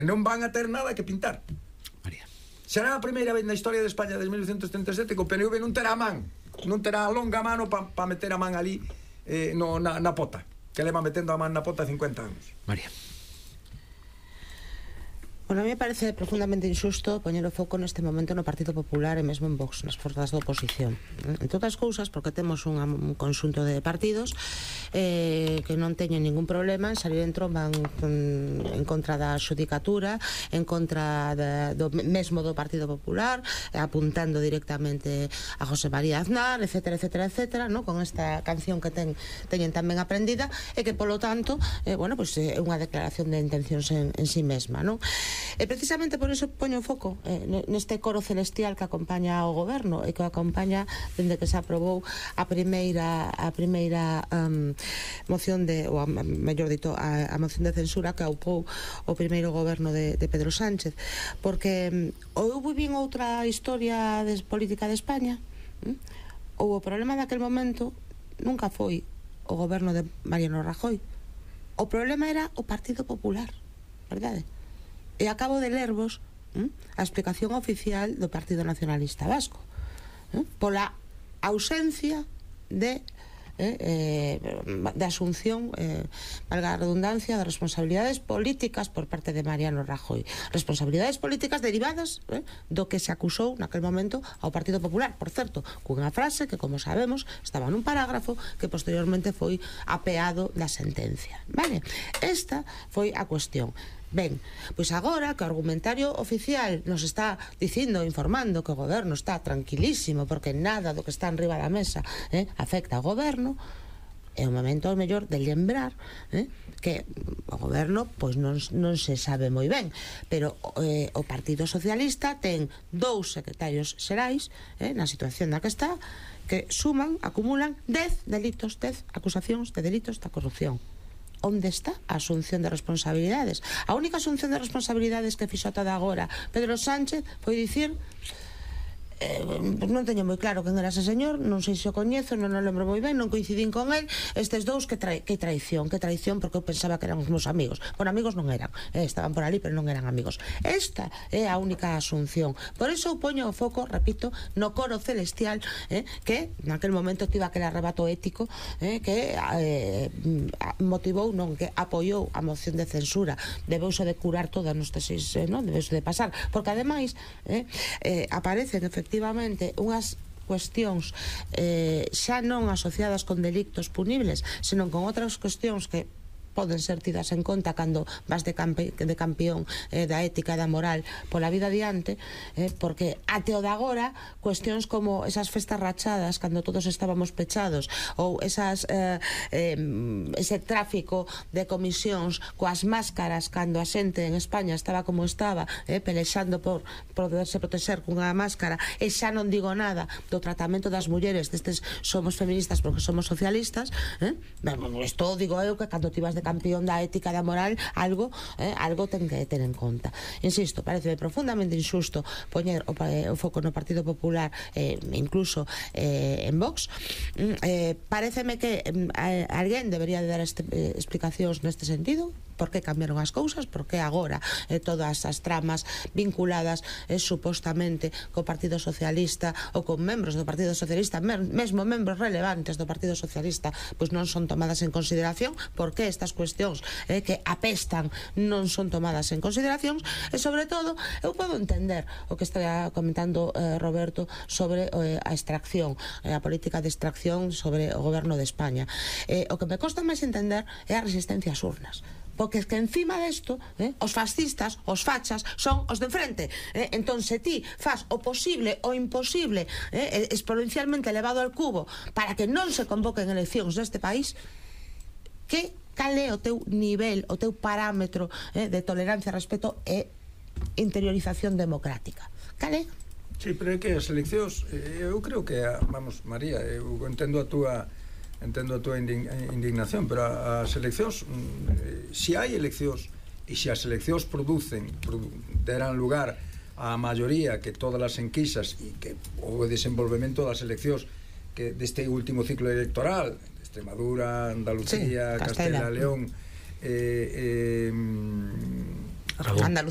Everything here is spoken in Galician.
Non van a ter nada que pintar. María. Será a primeira vez na historia de España desde 1937 que o PNV non terá a man, non terá a longa mano para meter a man ali na pota, que leva metendo a man na pota 50 anos. María. Bueno, a mí me parece profundamente injusto poñer o foco neste momento no Partido Popular e mesmo en Vox, nas forzas da oposición. En todas as cousas, porque temos un conxunto de partidos que non teñen ningún problema en salir en tromba en contra da xudicatura, en contra mesmo do Partido Popular, apuntando directamente a José María Aznar, etcétera, etcétera, etcétera, ¿no? Con esta canción que teñen tamén aprendida e que, polo tanto, bueno, pues, é unha declaración de intencións en sí mesma, ¿no? E precisamente por iso poño o foco neste coro celestial que acompaña ao goberno e que o acompaña dende que se aprobou a primeira moción ou mellor dito, a moción de censura que aupou o primeiro goberno de Pedro Sánchez, porque ou vivín outra historia política de España, ou o problema daquel momento nunca foi o goberno de Mariano Rajoy, o problema era o Partido Popular, verdade? E acabo de lervos a explicación oficial do Partido Nacionalista Vasco pola ausencia de asunción, valga a redundancia, de responsabilidades políticas por parte de Mariano Rajoy, responsabilidades políticas derivadas do que se acusou naquel momento ao Partido Popular, por certo, cunha frase que, como sabemos, estaba nun parágrafo que posteriormente foi apeado da sentencia, vale? Esta foi a cuestión. Ben, pois agora que o argumentario oficial nos está dicindo, informando que o goberno está tranquilísimo porque nada do que está enriba da mesa afecta ao goberno, é o momento mellor de lembrar que o goberno pois non se sabe moi ben, pero o Partido Socialista ten 2 secretarios xerais na situación na que está, que suman, acumulan 10 delitos, 10 acusacións de delitos da corrupción. Onde está a asunción de responsabilidades? A única asunción de responsabilidades que fixo ata de agora Pedro Sánchez foi dicir non teño moi claro quen era ese señor, non sei se o coñezo, non o lembro moi ben, non coincidín con el, estes dous, que traición, porque eu pensaba que eran os meus amigos. Por amigos non eran, estaban por ali pero non eran amigos. Esta é a única asunción. Por iso eu poño o foco, repito, no coro celestial que naquel momento tivo aquel arrebato ético que motivou, non, que apoiou a moción de censura. Debeuse de curar todas nos tesis, non? Debeuse de pasar, porque ademais aparecen efectivamente unhas cuestións xa non asociadas con delictos punibles, senón con outras cuestións que poden ser tidas en conta cando vas de campeón da ética e da moral pola vida adiante, porque até o de agora cuestións como esas festas rachadas cando todos estábamos pechados, ou ese tráfico de comisións coas máscaras cando a xente en España estaba como estaba, pelexando por poderse proteger cunha máscara, e xa non digo nada do tratamento das mulleres destes somos feministas porque somos socialistas, isto digo eu que cando ti vas de campeón da ética e da moral algo ten que ter en conta. Insisto, parece profundamente injusto poñer o foco no Partido Popular, incluso en Vox. Pareceme que alguén debería de dar explicacións neste sentido, por que cambiaron as cousas, por que agora todas as tramas vinculadas supostamente co Partido Socialista ou con membros do Partido Socialista, mesmo membros relevantes do Partido Socialista, pois non son tomadas en consideración, por que estas cuestións que apestan non son tomadas en consideración. E sobre todo eu podo entender o que está comentando Roberto sobre a extracción, a política de extracción sobre o goberno de España. O que me costa máis entender é a resistencia ás urnas, porque es que encima desto os fascistas, os fachas, son os de enfrente. Entón, se ti faz o posible o imposible exponencialmente elevado al cubo para que non se convoquen eleccións neste país, cal é o teu nivel, o teu parámetro de tolerancia, respeto e interiorización democrática? Cal é? Sí, pero é que as eleccións, eu creo que, vamos, María, eu entendo a túa indignación, pero as eleccións, se hai eleccións e se as eleccións deran lugar á maioría que todas as enquisas e que o desenvolvemento das eleccións que deste último ciclo electoral, Extremadura, Andalucía, Castela, León, Andalucía